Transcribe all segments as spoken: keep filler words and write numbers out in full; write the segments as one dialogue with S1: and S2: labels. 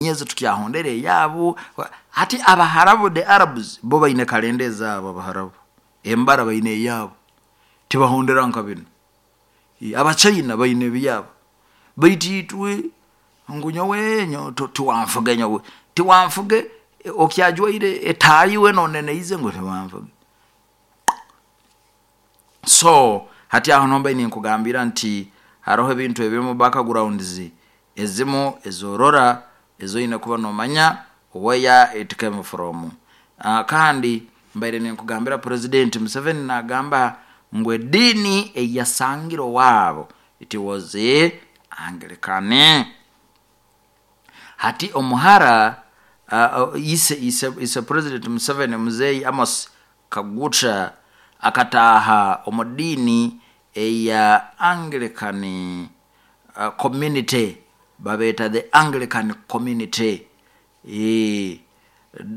S1: Enyezi tukyahondera eyaabo. Hati Abaharabu, the Arabs, bo baine kalenda ezaabo. Abaharabu embara baine eyaabo, tibahondera nka binu. Abachina baine ebyaabo, baitu itwe ngu nyowe tiwanfuge, nyowe tiwanfuge, okyajwaire etaayi weena oneneize ngu tiwanfuge. So hati aho nuho mbaire ninkugambira nti haroho ebintu ebimu, backgrounds ezimu ezorora ezoine kuba nomanya where it came from. Kandi mbaire ninkugambira, President Museveni nagamba ngu ediini eyiyasangire owaabo, it was Anglican. Hati omuhara uh, ise, ise, ise President Museveni, Muzeyi Amos Kaguta, akataaha omu diini eya Anglican uh, community, babeeta the Anglican Community. E,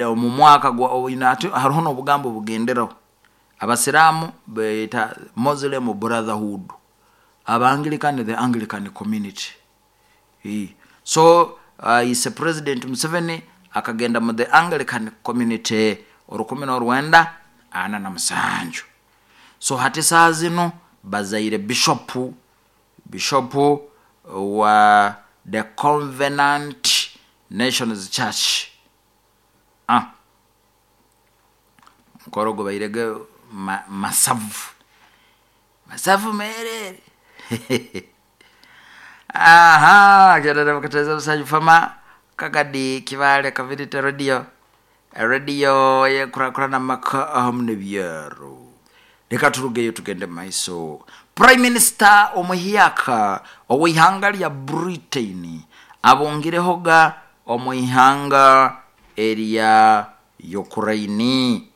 S1: omu mwaka gwa, haroho nobugambo obugenderaho, Abasiraamu beeta Muslim Brotherhood, Abanglican the Anglican Community. E, so uh, ise President Museveni akagenda mu the Anglican Community orukumi norwenda ana na musanju. So hati saaha zinu bazaire bishopu, bishopu wa the Covenant Nations Church. Ah, mukoro gubairege ma, masavu masavu merere. Aha, kyerere mukateza busanyu fama kagadi Kibale Community Radio, radio yekurakurana maka ahamu nebyaro. Reka turugeyo tugende mumaiso. Prime Minister omuhyaka ow'ihanga lya Britain abungirehoga omu ihanga erya Ukraine.